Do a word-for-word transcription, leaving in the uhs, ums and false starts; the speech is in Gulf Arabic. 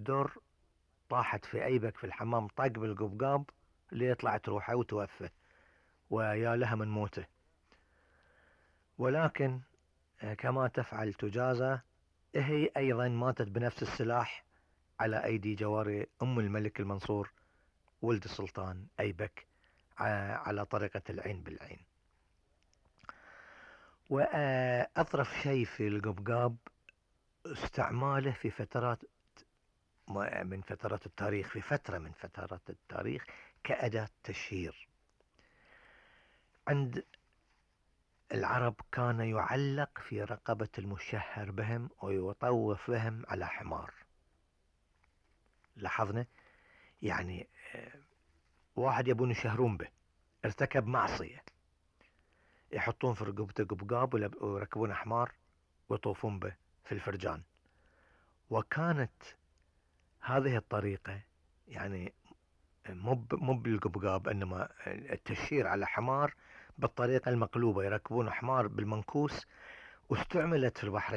بدر طاحت في ايبك في الحمام، طق بالقبقاب اللي يطلعت روحه وتوفى، ويا لها من موته. ولكن كما تفعل تجازى، هي ايضا ماتت بنفس السلاح على ايدي جواري ام الملك المنصور ولد السلطان ايبك، على طريقة العين بالعين. واطرف شيء في القبقاب استعماله في فترات من فترات التاريخ، في فترة من فترات التاريخ كأداة تشهير. عند العرب كان يعلق في رقبة المشهر بهم ويطوف بهم على حمار. لاحظنا يعني واحد يبون يشهرون به، ارتكب معصية، يحطون في رقبته قبقاب ويركبون حمار ويطوفون به في الفرجان. وكانت هذه الطريقة يعني مو مو بالقبقاب، انما التشهير على حمار بالطريقة المقلوبة، يركبون حمار بالمنكوس، واستعملت في البحرين